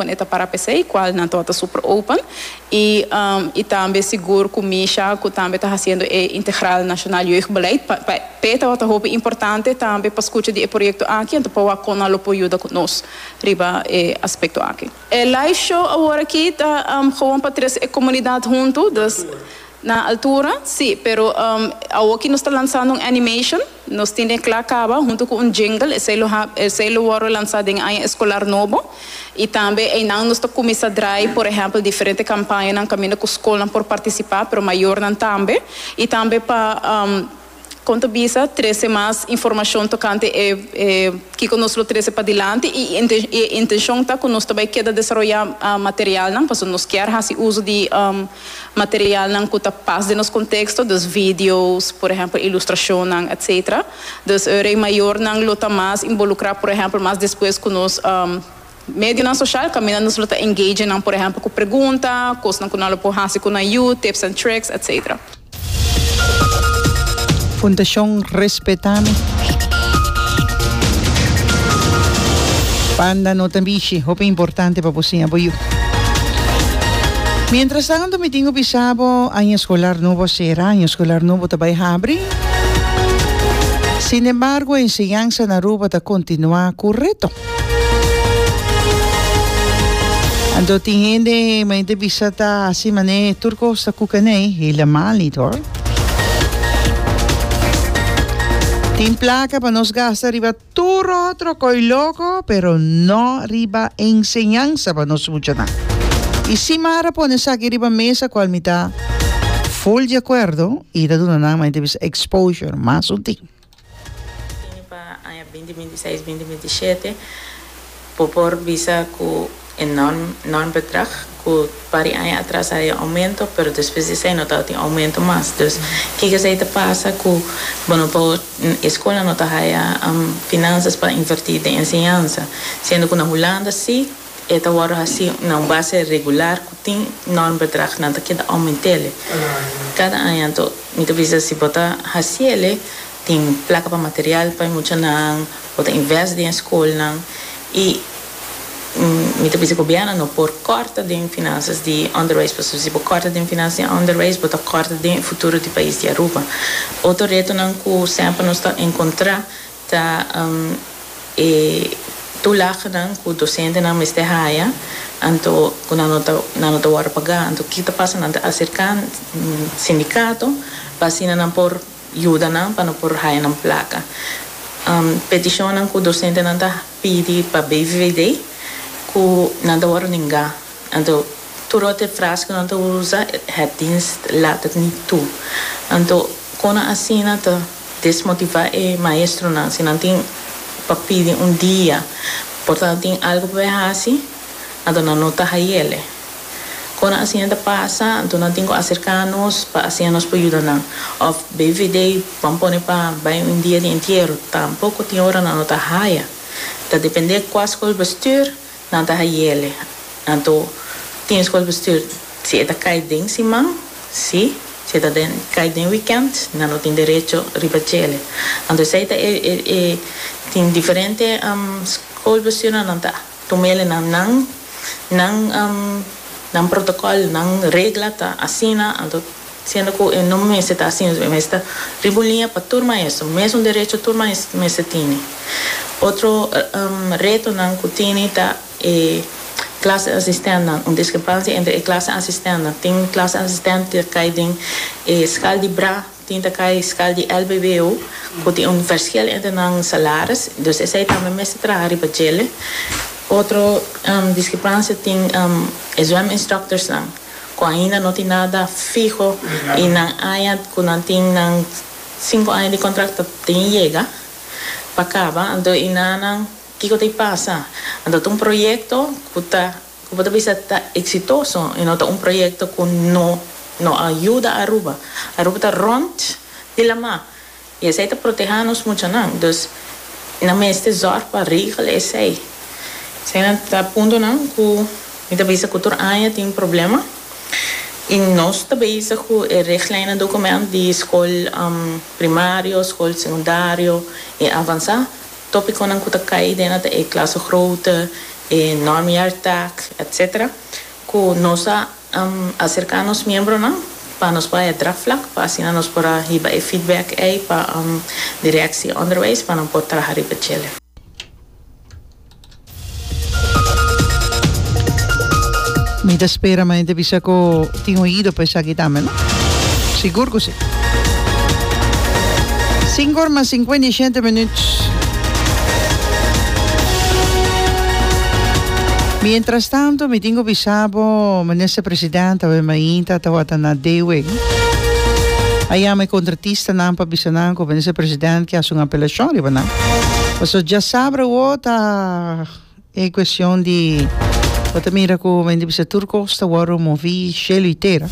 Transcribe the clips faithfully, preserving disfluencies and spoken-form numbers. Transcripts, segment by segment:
open e ta para p'esey, cual nan ta super open. Y, um, y tambe sigur cu Misha, cu tambe ta haciendo e Integraal Nationaal Jeugdbeleid. Pa, pa, p'e ta hopi importante tambe pa scucha di e proyecto aki, anto pa con nan lo por yuda cu nos riba e aspecto aki. E live show awor aki ta um, gewoon pa trece e comunidad hunto, dus na altura, si, pero um, aki nos ta lansando un animation, nos tin cla caba hunto cu un jingle, esey lo esey lo wordo lansa den aña escolar nobo. Y tambe ey nos ta cuminsa draai, por ehempel, diferente campaña nan caminda cu scol por participa, pero mayornan tambe. Y tambe pa um, con ta bisa, trece mas informacion tocante e, e cu nos lo trece padilanti y e intencion ta cu nos tambe kier desaroya uh, material nan, pasobra nos kier haci uso di um, material nan cu ta pas den nos contexto, dus videos, por ehempel, ilustracion, et cetera. Dus e mayornan lo ta mas involucra, por ehempel, mas despues cu nos um, medio social, caminda nos lo ta engage nan, por ehempel, cu pregunta, cos cu nan por haci cu nan tips and tricks, et cetera. Fundacion Respetami. Panda no ta mishi, hopi importante pa bo siña bo yiu. Mientras tanto, mi tin cu bisa bo, aña escolar nobo sera, aña escolar nobo ta bay habri. Sin embargo, enseñansa na Aruba ta continua cu reto. Anto tin hende, mi ta bisa ta asina mane tur cos ta cucaney, helemaal niet, hoor. Tin placa pa nos gasta riba tur otro coy loco, pero no riba enseñansa pa nos muchanan. Y si Mara pone esaki riba mesa, cual mi ta full di acuerdo, y ta duna nan mi ta bisa exposure, mas un tin. Pa aña binti bintiseis, binti bintisiete, por bisa cu enorm, enorm bedrag, cu par di aña atras a aumento, pero despues di esey no tin aumento mas. Dus, kico esey ta pasa cu, bueno, pa scol no ta haya um, finanzas pa inverti den enseñansa, siendo cu na Hulanda si, ta awor asina, na un base regular, cu tin enorm bedrag, nan ta keda aument'e. Cada aña, anto, mi ta bisa si bo ta haci'e, tin placa pa material pa muchanan, bo ta invest den scol y mi ta bisa gobierno no por corta den finanzas di onderwijs, pasobra si bo corta den finanzas di onderwijs, bo ta corta den futuro di pais di Aruba. Otro reto nan cu semper nos ta encontra ta um, e toelagenan cu docentenan mester haya, anto cu nan no ta nan no ta wordo paga. Anto kico ta pasa? Nan ta acerca sindicato pa asina nan por yuda nan pa nan por haya nan placa. Um, peticion nan cu docentenan ta pidi pa B V V D cu nan ta wordo nenga. Anto tur otro frase cu nan ta usa, "Het dienst laat het niet toe." Anto con asina ta desmotiva e maestronan, si nan tin pa pidi un dia, por ta tin algo pa haci, anto nan no ta hay'e. Con asina ta pasa, anto nan tin cu acerca nos pa asina nos por yuda nan. Of B V D ban pone pa bay un dia di entiero, tampoco tin ora nan no ta haya. Ta depende cua schoolbestuur nan ta hay'e. Anto tin schoolbestuur si e ta cay den siman, si, si ta den cay den weekend, nan no tin derecho riba dje. Anto esey ta e, e, e tin diferente um, schoolbestuur nan ta tum'e nan nan nan um, nan protocol, nan regla ta asina, anto siendo cu no mester ta asina, mester ta riba liña pa tur maestro, mesun derecho tur maestro mester tin. Otro um, reto nan cu tin ta e klasassistent, un discrepancia entre e klasassistent. Tin klasassistent cu cay den e schaal di B R A, tin cu cay schaal di L B B O, cu tin un verschil entre nan salaris, dus esey tambe mester traha riba dje. Otro um, discrepancia tin um, e zweminstructors nan, cu ainda no tin nada fiho y nan aña cu nan tin nan cinco aña di contrato tin yega pa caba, anto y nan kico ta pasa? Anto un proyecto cu ta cu por bisa ta exitoso y no ta un proyecto cu no no a yuda Aruba. Aruba ta rond di lama. Y esey ta proteha nos muchanan. Dus nan mester zorg pa regel esey. Esey ta punto nan cu mi ta bisa cu tur aña tin problema. Y nos ta bezig cu e richtlijnen document di scol um, primario, scol secundario y avansa. Topiconan cu ta cay den e klasgrootte, E normjaartaak, et cetera. Ku nos a um, aserká nos miembronan pa nos por draagvlak, pa asina nos por hiba e feedback ei pa um, directie onderwijs, pa nan por traha riba dje. Mi ta spera, ma hende bisa ku tin oido pa esaki tambe, no? Sigur ku si. Sinku or mas sinkuenta i shete minüt. Mientras tanto, mi tin ku bisa bo, minister presidente, awe mainta tabata na D W. A yama e kontratistanan pa bisa nan ku minister presidente ke hasi un apelashon riba nan. Paso djasabra ta e kuestion di bo ta mira ku men bisa tur kos ta wòrdu moví shelu i tera.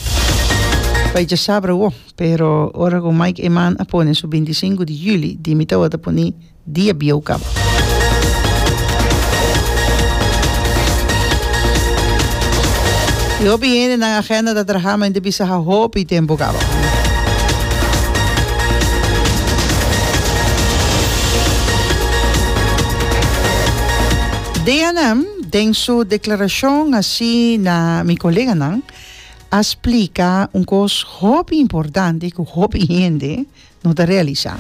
Pa djasabra wo, pero ora ku Mike Eman a pone su bintisinku di yüli, di mi tabata pone dia bieu kaba. I hopi hende nan agenda ta traha men bisa ha hopi tempu kaba. D N M, den su deklarashon asina na mi koleganan, a splika un kos hopi importante ku hopi hende no ta realisá.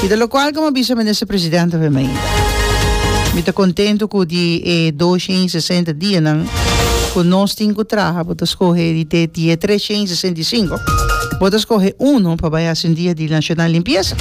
I di lokual komo bisa minister presidente awe mainta. Mi ta kontentu ku di e dosshen sesenta dianan ku nos tin ku traha, bo ta skohe di te di tresshen sesenta i sinku. Bo ta skohe uno pa bai hasi un dia di nacional limpieza.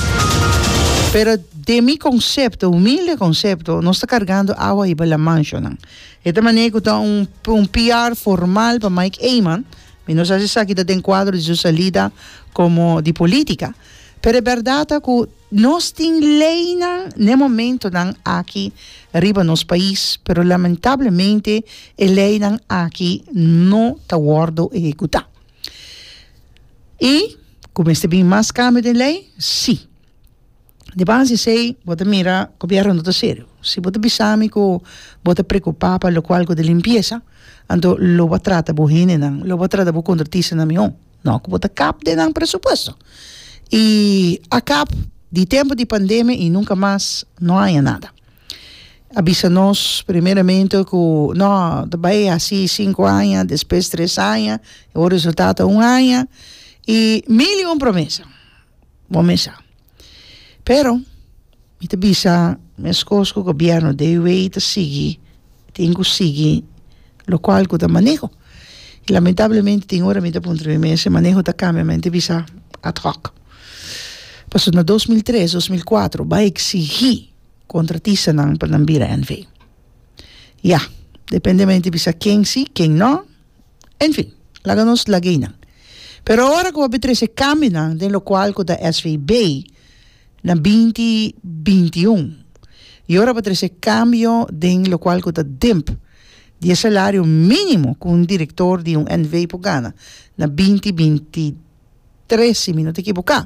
Pero den mi konsepto, humilde konsepto, nos ta kargando awa i bala nan. E manera ku ta un, un P R formal pa Mike Eman, mi no sa si esaki ta den kuadro di su salida komo di polítika. Pero e bèrdat ta ku nos tin leinan na momentonan aki riba nos pais, pero lamentablemente e leinan aki no ta wòrdu ehekutá. I kuminsá bin mas kambio di lei? Si. Di base esei, bo ta mira, gobièrnu no ta serio. Si bo ta bisa mi ku bo ta preokupá pa lokual ku di limpiesa, anto lo bo trata bo hendenan, lo bo trata bo kontratistanan mihó. No, ku bo ta kap den nan presupuesto. I a kap di tempu di pandemia i nunka mas no a nada. A bisa nos primeramente ku no, bai asina sinku aña, despues tres aña, e resultado un aña i mil i un promesa. Bon mesa. Pero, mi ta bisa, meskos ku gobièrnu D W ta sigui, tin ku sigui, lokual ku ta maneho. I lamentablemente tin ora mi ta puntra mi mes, maneho ta kambia, mi ta bisa ad hoc. Paso na dos mil tres, dos mil kuater, bai eksigí kontratistanan pa nan bira N V. Ja, dependemente bisa ken si, ken no. En fin, laga nos lag'é einan. Pero ora ku a trese kambionan den lokual ku ta S V B na dos mil binti un. I ora pa trese kambio den lokual ku ta D I M P, di salario mínimo ku un direktor di un N V por gana na dos mil bintitres, si mi no ta ekivoká.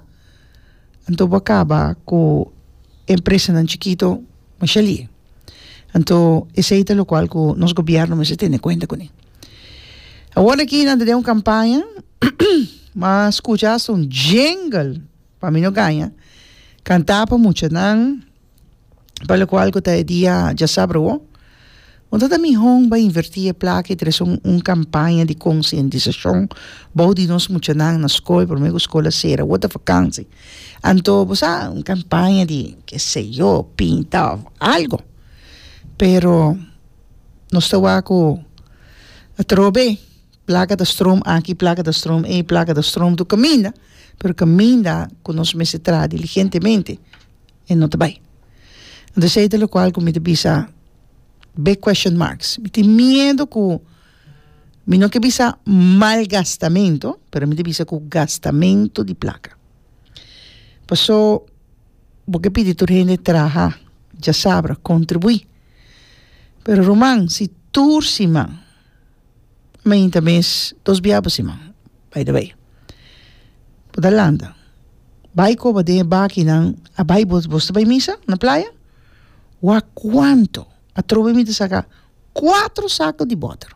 Anto a kaba ku empresanan chikitu masha lihé. Anto esei ta lokual ku nos gobièrnu mester tene kuenta kuné. Awor aki nan tin un kampaña, m'a skucha un jingle pa mi no gaña, kantá pa muchanan, pa lokual ku ta dia djasabra. Anto ta mihó bai invertí e plaka i trese un, un kampaña di konsientisashon bou di nos muchanan na skol, promé ku skol sera, otro vakantie. Anto, bo sa, un kampaña di, ke sé yo, pinta, algo. Pero nos ta ku atrobe, plaka ta stroom aki, plaka ta stroom ei, plaka ta stroom tur kaminda, pero kaminda ku nos mester traha diligentemente, e no ta bai. Anto, esei ta lokual ku mi ta bisa big question marks. Mi tin miedu ku mi no ke bisa malgastamentu, pero mi ta bisa ku gastamentu di plaka. Paso, bo ke pidi tur hende traha, djasabra, kontribuí. Pero ruman, si tur siman, mainta mes, dos bia pa siman, by the way. Bo ta landa. Bai koba den bakinan, a bai bo bo bai misa na Playa? Wak kuantu? Atrobe mi ta saka kuater saku di bòter.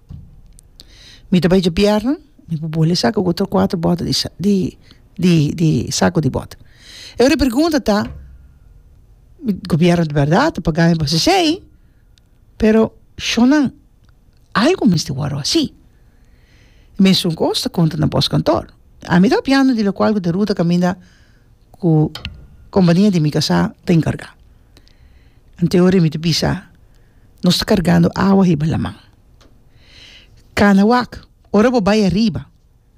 Mi ta bai djabièrnè, mi por bolbe saka otro kuater bòter di di di di saku di bòter. E pregunta ta, gobièrnu di bèrdat ta paga pa esei, pero Shonnan, algu mester wòrdu hasí. Mesun kos ta konta na postkantoor. Ami ta papiando di lokual ku ta ruta kaminda ku kompania di mi kasá ta enkargá. Anteori mi ta bisa, nos ta kargando awa hiba laman. Kana wak, ora bo bai ariba,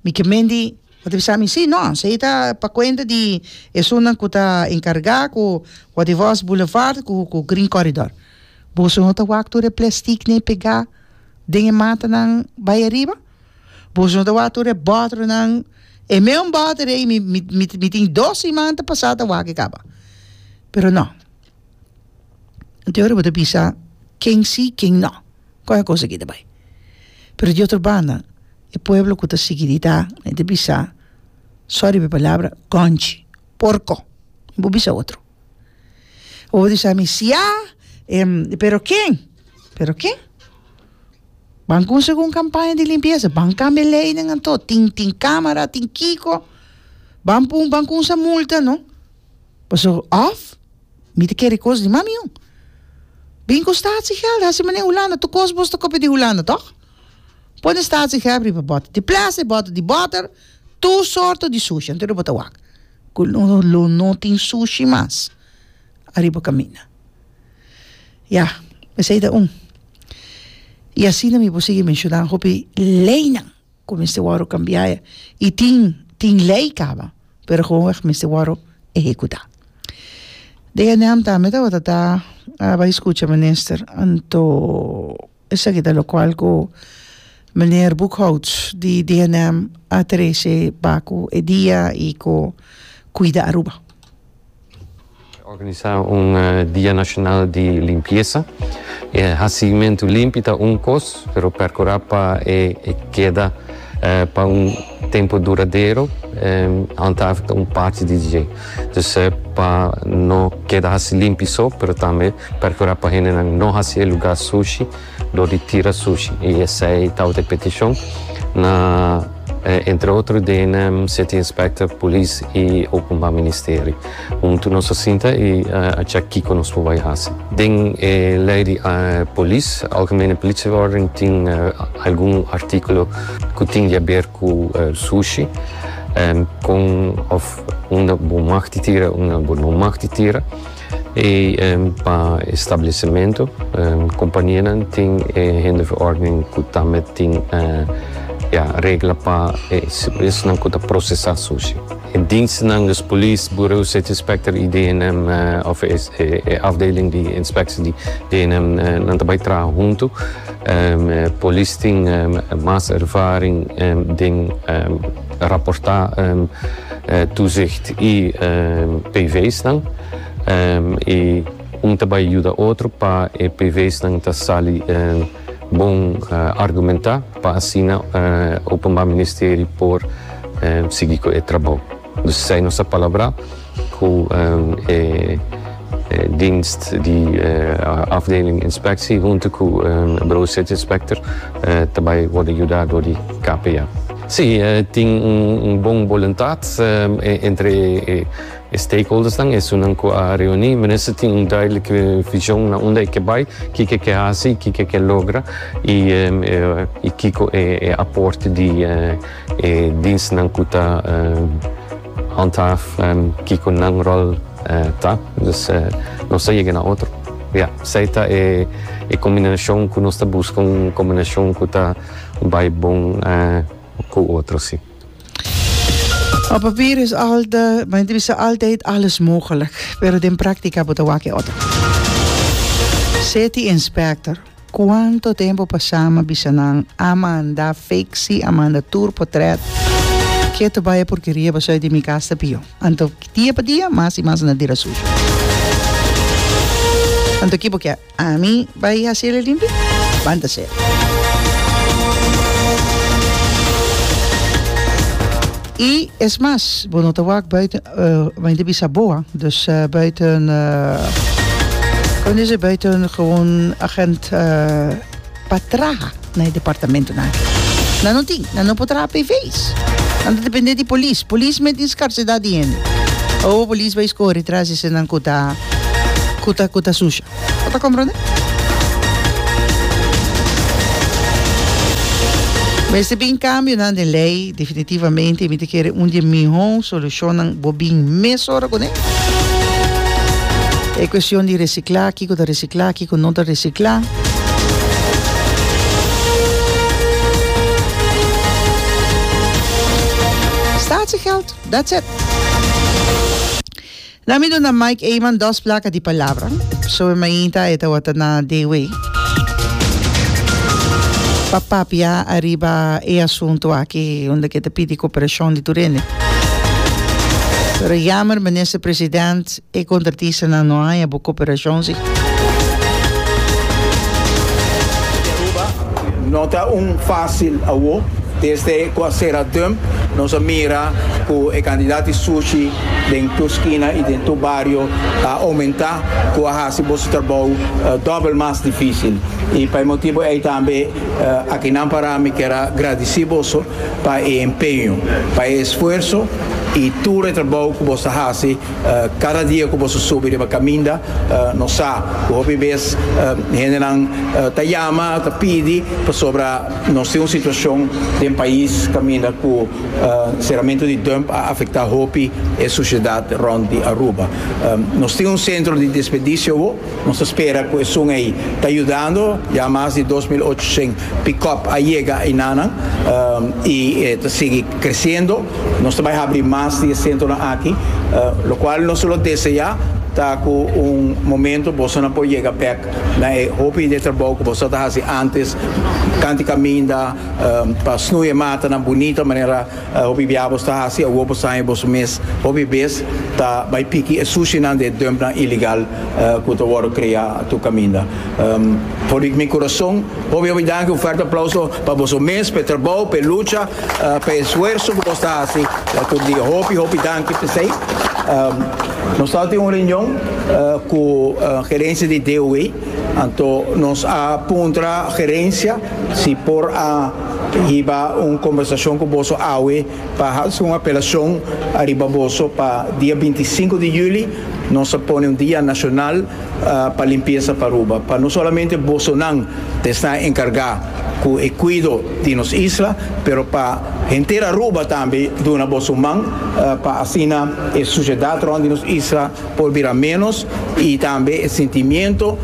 mi ke men di, bo ta bisa mi, sí, no, esei ta pa kuenta di esunnan ku ta enkargá ku Watervos Boulevard ku ku Green Corridor. Boso no ta wak tur e plestiknan pegá den e matanan bai ariba? Boso no ta wak tur e bòternan? E meun bòter ei mi mi mi tin dos siman ta pasá ta wak e kaba. Pero no. Anto ora bo ta bisa ken sí, ken no. Kon e kos aki ta bai? Pero di otro banda, e pueblo ku ta sigui di ta, nan ta bisa, sorry pa e palabra, gònchi, porko. Bo bisa otro. Bo por bisa mi, siá, pero ken? Pero ken? Ban kuminsá ku un kampaña di limpiesa, ban kambia leynan anto, tin tin kámara, tin kiko, ban pun ban kuminsá multa no. Pasobra òf mi ta kere kos di mami yu. Bin ku statiegeld, hasi manera Hulanda, tur kos bos ta kopia di Hulanda tòg? Pone statiegeld riba bòter di plastic, bòter di bòter, tur sorto di sushi, anto bo ta wak ku lo lo no tin sushi mas ariba kaminda. Ya, esei ta un. I asina mi por sigui menshoná hopi leinan ku mester wòrdu kambiá i tin tin lei kaba, pero gewoonweg mester wòrdu ehekutá. D N M tambe tabata ta a bai skucha minister, anto esaki ta lokual ku meneer Boekhout di D N M a trese pa ku e dia i ku Kuida Aruba. Organisá un Dia Nashonal di Limpiesa. E hasimentu limpi ta un kos, pero perkurá pa e keda pa un tempu duradero handhaaf ta un parti di dje. Dus pa no keda hasi limpi so, pero tambe perkurá pa hendenan no hasi e lugá sushi dor di tira sushi. I esei tabata e petishon na entre otro den City Inspector, Polis i Openbaar Ministerie. Huntu nos a sinta i a chèk kiko nos por bai hasi. Den e lei di polis, Algemene Politieverordening, tin algun artíkulo ku tin di aber ku sushi, kon òf unda bo mag di tira, unda bo no mag di tira. I pa establesimentu, kompanianan tin e hinderverordening ku tambe tin ya regla pa esnan ku ta prosesá sushi. E dienstnan, dus polis, Bureau City Inspector i D N M òf e afdeling di inspeksie di D N M nan ta bai traha huntu. Polis tin mas ervaring den raportá toezicht i P V's-nan. I un ta bai yuda otro pa e P V's-nan ta sali bon argumentá pa asina Openbaar Ministerie por sigui ku e trabou. Dus esei nos a palabrá ku e dienst di afdeling inspectie huntu ku Bureau City Inspector ta bai wòrdu yudá dor di K P A. Sí, tin un bon boluntat entre e stakeholdersnan, esunnan ku a reuní. Minister tin un duidelijke vision na unda e ke bai, kiko e ke hasi, kiko e ke logra i kiko e aporte di e dienstnan ku ta handhaaf, kiko nan ròl ta. Dus nos ta yega na otro. Ja, esei ta e kombinashon ku nos ta buska, un kombinashon ku ta bai bon ku otro, sí. Op papier is altijd, maar het is altijd alles mogelijk, pero den práctica bo ta wak e otro. City Inspector, cuanto tempo pasá mi a bisa nan a manda fixi, a manda tur potret, keto bai e porkeria pasobra di mi cas ta pio. Anto dia pa dia mas y mas nan tira sushi. Anto ki bo kier? Ami bai haci el limpi? Ban ta ser. I es mas, bo no ta wak buiten, uh, mi ta bisa boa, dus uh, buiten, uh, kon dice, buiten gewoon agent uh, pa traha na e departamentonan aki. Nan no tin, nan no por traha P V's. Nan ta depende di polis. Polis mes tin skarsedat di hende. Awo polis bai skore tras di esnan ku ta, ku ta, ku ta susha. Bo ta komprende? Mester bin kambionan den lei definitivamente, mi ta kere un di e mihó solushonnan bo bin mesora kuné. E kuestion di resiklá, kiko ta resiklá, kiko no ta resiklá. Statiegeld, that's it. Na mi duna Mike Eman dos placa di palabra. So e mainta e tawata na D W. Pa papia ariba e asunto aki unda ke ta pidi cooperacion di tur hende. Pero jammer, minister president, e contratista na no haya bo cooperacion si. No ta un fácil awo. Desde cu a cera dump, nos a mira cu e cantidad di sushi den tu esquina y den tu barrio a aumenta, cu a haci boso trabou, eh, dobbel mas difícil. Y pa e motibo ey tambe, eh, aki nan para mi kier gradici boso pa e empeño, pa e esfuerzo y tur e trabou cu boso haci, eh, cada dia cu boso subi riba caminda, eh, nos sa cu hopi bes, eh, hendenan, eh, ta yama, ta pidi, pasobra nos tin un situacion den pais caminda cu, eh, cerramento di dump a afecta hopi e sociedad rond di Aruba. Eh, nos tin un centro di desperdicio, wo, nos spera cu esun ey ta ayudando, ya mas di dos mil ochocientos pick-up a yega inana, eh, y, eh, ta sigue creciendo. Nos ta bay abri mas di centro aki, eh, lo cual no solo desea, ta cu un momento boso no por yega bek na e hopi de trabou cu boso ta haci antes, canti caminda, um, pa snoeien mata na bonita manera, uh, hopi biabos ta haci, a wopo sa boso mes, hopi bes ta bay piki e sushi nan de dump nan ilegal, uh, cu ta wordo crea tu caminda. Um, por mi corazón, hopi hopi danki, un fuerte aplauso pa boso mes, pa trabou, pa lucha, uh, pa esfuerzo cu boso ta haci, la tur dia. Hopi, hopi danki, pesei. Um, nos ta tin un reunion, uh, cu, uh, gerencia di D O W, anto nos a puntra gerencia si por a hiba un conversacion cu boso awe pa hacer una apelacion ariba boso pa dia veinticinco di juli nos a pone un dia nacional, uh, pa limpieza pa Aruba, pa no solamente boso nan te está encarga cu e cuido di nos isla, pero pa henter Aruba tambe duna boso man, uh, pa asina e sociedad rond di nos isla por bira menos y tambe e sentimiento.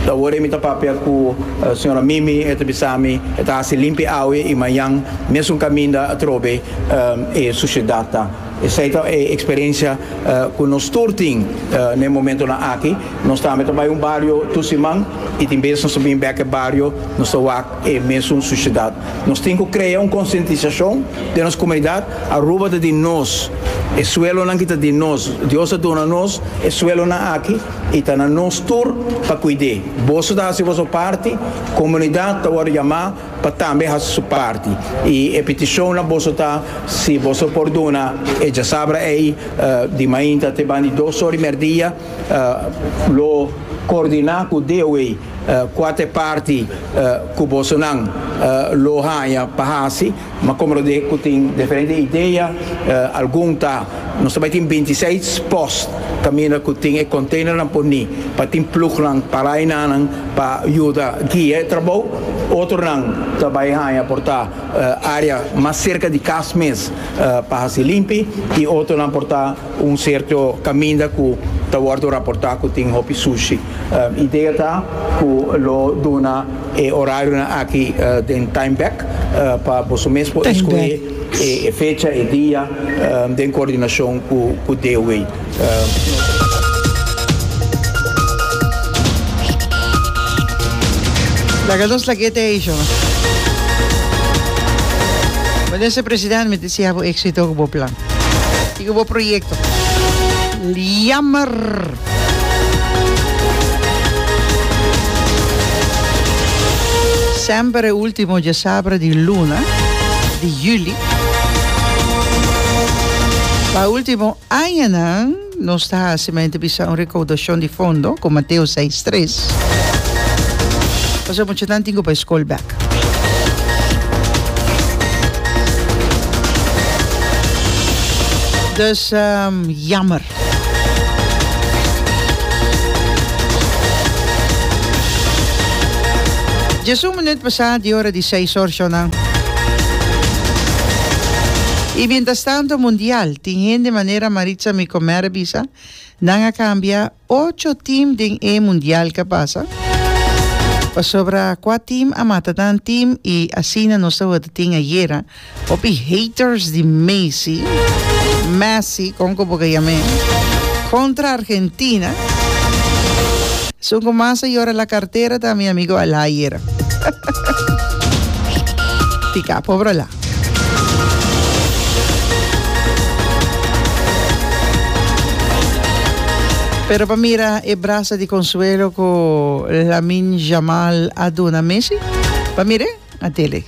Awor mi ta papia cu, uh, señora Mimi, e ta bisami, e ta haci limpi awe y mañan mesmo caminda atrobe, um, e sociedad ta. Esa ta e experiencia, uh, cu nos tur tin, uh, na momento na aki. Nos tambe ta bay un barrio tur siman y tin bes nos bin bek e barrio, nos ta wak e mesmo sociedad. Nos tin cu crea un concientizacion di nos comunidad, Aruba ta di nos, e suelo nan kita di nos, Dios a dona nos, e suelo nan aki, y ta na nos tur pa cuide. Boso ta haci boso parti, comunidad ta word yama pa tambe haci su parti. Y e peticion na boso ta, si boso por dona, e ya sabra ei, eh, di mainta te bandi dos ora y merdia, eh, lo coordina cu D O W, eh, cuatro parti, eh, cu boso nan, eh, lo haya pa haci, ma como lo de cu tin diferente idea, eh, algun ta, nos tambe tin veintiséis post caminda cu tin e container nan poni, pa tin ploeg nan, para nan, pa ayuda guia e trabou, otro nan tambe haya porta, eh, área mas cerca de cas mes, eh, pa haci limpi, y otro nan porta un cierto caminda cu ta wordo raporta cu tin hopi sushi. Eh, idea ta cu lo duna e horario na aki, eh, den time back, eh, pa boso mes por Time escoger back. e, e fecha e dia, eh, den coordinacion cu, cu D O W. Eh, Laga nos laguete aí, João. Minister President, me desea bo éxito com bo plan. E com bo proyecto. Jammer. Sempre último dia sabra di luna di juli. Pa último año, nos ta haciendo bisa un recaudación de fondo con Mateo seis tres. Pasó mucho tanto tengo pa school back. Dus, um, jammer. Just un minuut pasado, die hora di seis or, Shona. I mientrastantu Mundial, tin hende manera Maritza mi komer bisa, nan a kambia ocho team den e Mundial ku a pasa. Pasobra kua team a mata nan team i asina nos tabatin ayera. Hopi haters di Messi, Messi, kon ku bo ke yam'é, kontra Argentina. Esun ku mas a yora la kartera ta mi amigo Alá ayera. Tika, pobre Alá. Pero pa mira e brasa di konsuelo ku Lamine Yamal a duna Messi, pa mir'é na tele.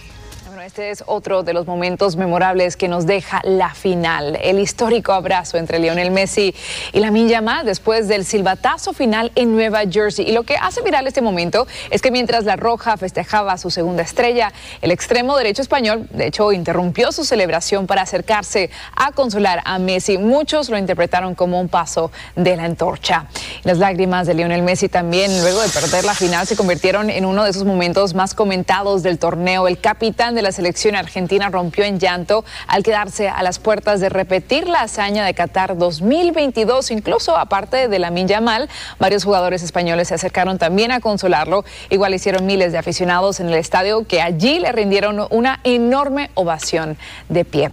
Bueno, este es otro de los momentos memorables que nos deja la final. El histórico abrazo entre Lionel Messi y Lamine Yamal después del silbatazo final en Nueva Jersey. Y lo que hace viral este momento es que mientras La Roja festejaba su segunda estrella, el extremo derecho español, de hecho, interrumpió su celebración para acercarse a consolar a Messi. Muchos lo interpretaron como un paso de la antorcha. Las lágrimas de Lionel Messi también, luego de perder la final, se convirtieron en uno de esos momentos más comentados del torneo. El capitán de la selección argentina rompió en llanto al quedarse a las puertas de repetir la hazaña de Qatar dos mil veintidós. Incluso, aparte de Lamine Yamal, varios jugadores españoles se acercaron también a consolarlo. Igual hicieron miles de aficionados en el estadio que allí le rindieron una enorme ovación de pie.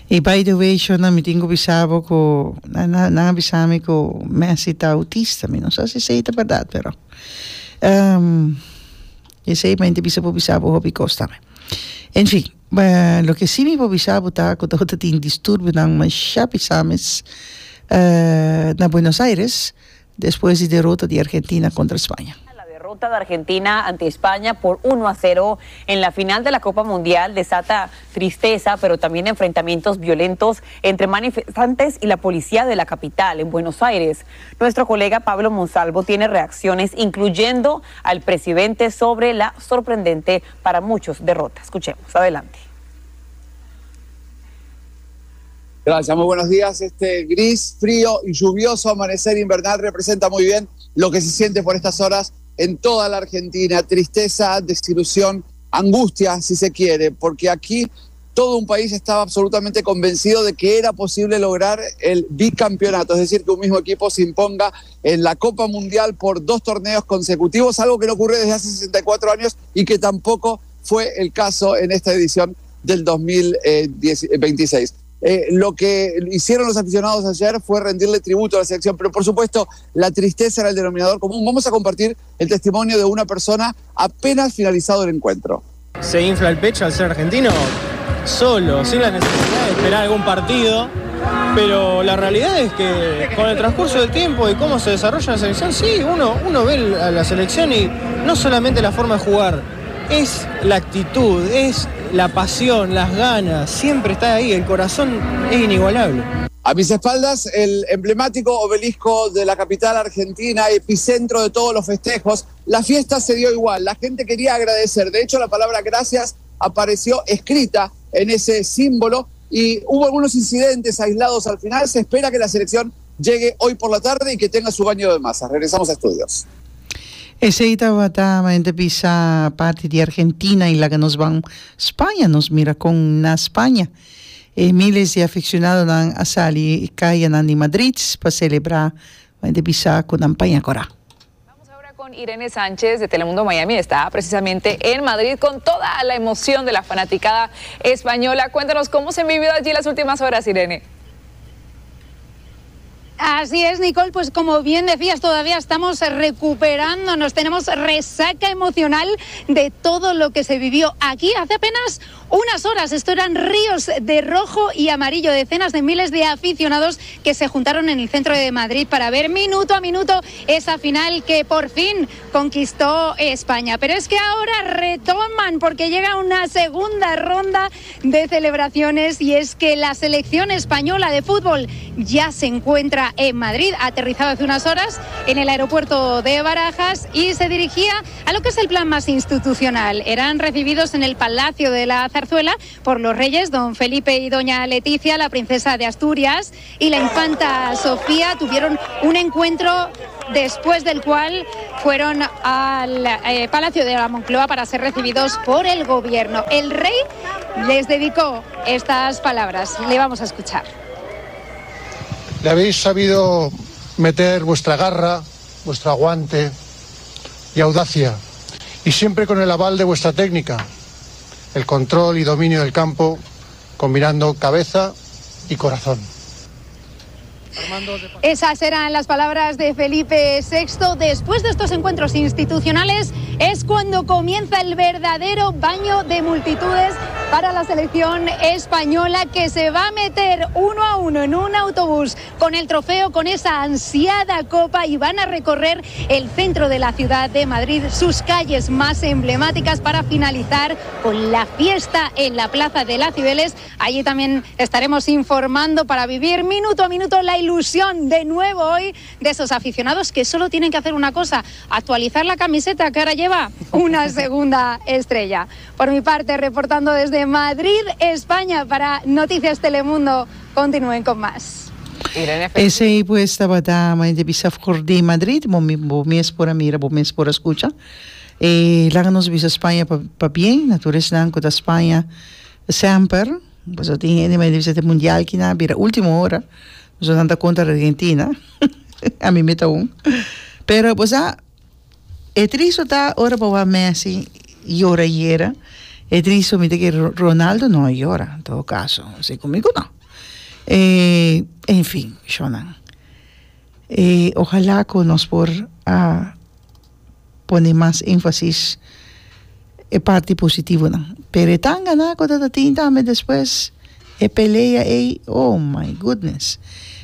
I by the way, shon, mi tin ku bisa bo ku nan a bisa mi ku Messi ta autista. Mi no sa si esei ta bèrdat, pero um, esei mi bisa por bisa bo hopi kos tambe. En fin, loke sí mi por bisa bo ta ku tin disturbionan masha pisá mes uh, na Buenos Aires despues di derota di Argentina kontra Spaña. La derrota de Argentina ante España por uno a cero en la final de la Copa Mundial desata tristeza, pero también enfrentamientos violentos entre manifestantes y la policía de la capital, en Buenos Aires. Nuestro colega Pablo Monsalvo tiene reacciones, incluyendo al presidente, sobre la sorprendente para muchos derrota. Escuchemos, adelante. Gracias, muy buenos días. Este gris, frío y lluvioso amanecer invernal representa muy bien lo que se siente por estas horas en toda la Argentina. Tristeza, desilusión, angustia, si se quiere, porque aquí todo un país estaba absolutamente convencido de que era posible lograr el bicampeonato, es decir, que un mismo equipo se imponga en la Copa Mundial por dos torneos consecutivos, algo que no ocurre desde hace sesenta y cuatro años y que tampoco fue el caso en esta edición del dos mil veintiséis. Eh, lo que hicieron los aficionados ayer fue rendirle tributo a la selección, pero por supuesto la tristeza era el denominador común. Vamos a compartir el testimonio de una persona apenas finalizado el encuentro. Se infla el pecho al ser argentino solo, sin la necesidad de esperar algún partido, pero la realidad es que con el transcurso del tiempo y cómo se desarrolla la selección, sí, uno, uno ve a la selección y no solamente la forma de jugar, es la actitud, es la pasión, las ganas, siempre está ahí, el corazón es inigualable. A mis espaldas, el emblemático obelisco de la capital argentina, epicentro de todos los festejos. La fiesta se dio igual, la gente quería agradecer. De hecho, la palabra gracias apareció escrita en ese símbolo y hubo algunos incidentes aislados al final. Se espera que la selección llegue hoy por la tarde y que tenga su baño de masas. Regresamos a estudios. Esei tabata bisa parti di Argentina i laga nos ban Spaña, nos mira kon na Spaña. E miles di aficionadonan a sali kayanan di Madrid pa selebrá bisa ku nan paña kòrá. Vamos ahora con Irene Sánchez de Telemundo Miami. Está precisamente en Madrid con toda la emoción de la fanaticada española. Cuéntanos cómo se han vivido allí las últimas horas, Irene. Así es, Nicole, pues como bien decías, todavía estamos recuperándonos, tenemos resaca emocional de todo lo que se vivió aquí hace apenas unas horas. Esto eran ríos de rojo y amarillo, decenas de miles de aficionados que se juntaron en el centro de Madrid para ver minuto a minuto esa final que por fin conquistó España. Pero es que ahora retoman porque llega una segunda ronda de celebraciones y es que la selección española de fútbol ya se encuentra en Madrid, aterrizado hace unas horas en el aeropuerto de Barajas y se dirigía a lo que es el plan más institucional. Eran recibidos en el Palacio de la Zarzuela por los reyes, don Felipe y doña Letizia, la princesa de Asturias y la infanta Sofía. Tuvieron un encuentro después del cual fueron al eh, Palacio de la Moncloa para ser recibidos por el gobierno. El rey Les dedicó estas palabras. Le vamos a escuchar. Le habéis sabido meter vuestra garra, vuestro aguante y audacia, y siempre con el aval de vuestra técnica, el control y dominio del campo, combinando cabeza y corazón. Esas eran las palabras de Felipe sexto. Después de estos encuentros institucionales es cuando comienza el verdadero baño de multitudes para la selección española, que se va a meter uno a uno en un autobús con el trofeo, con esa ansiada copa, y van a recorrer el centro de la ciudad de Madrid, sus calles más emblemáticas, para finalizar con la fiesta en la Plaza de la Cibeles. Allí también estaremos informando para vivir minuto a minuto la ilusión de nuevo hoy de esos aficionados que solo tienen que hacer una cosa: actualizar la camiseta, que ahora lleva una segunda estrella. Por mi parte, reportando desde Madrid, España, para Noticias Telemundo, continúen con más. Esei pues tabata manera bisa for di Madrid, bo bo mes por a mira, bo mes por a skucha. E laga nos bisa Spaña pa pabien, na tur esnan ku ta Spaña semper, pues tin hende manera bisa te mundial ki na bira último ora, so nan ta kontra Argentina, ami mi ta un. Pero pues a e tristo ta ora bo wak Messi yora yera, e tristo mi ta kere Ronaldo no a yora, en todo caso, si kumigo no. E en fin, shownan. E ojalá ku nos por a pone mas énfasis e parti positivonan. Pero e tangana ku ta tin tambe despues e pelea ei, oh my goodness.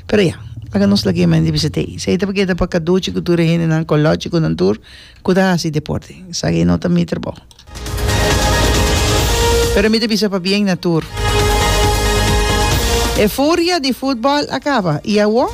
Pero ya, laga nos lag'é men di bisita ei. Esei ta keda pa kaduchi ku tur e hendenan kolochi ku nan tur ku ta hasi deporte. Esaki no ta mi trabou. Pero mi ta bisa pabien na tur. E furia di futbòl a kaba i awor?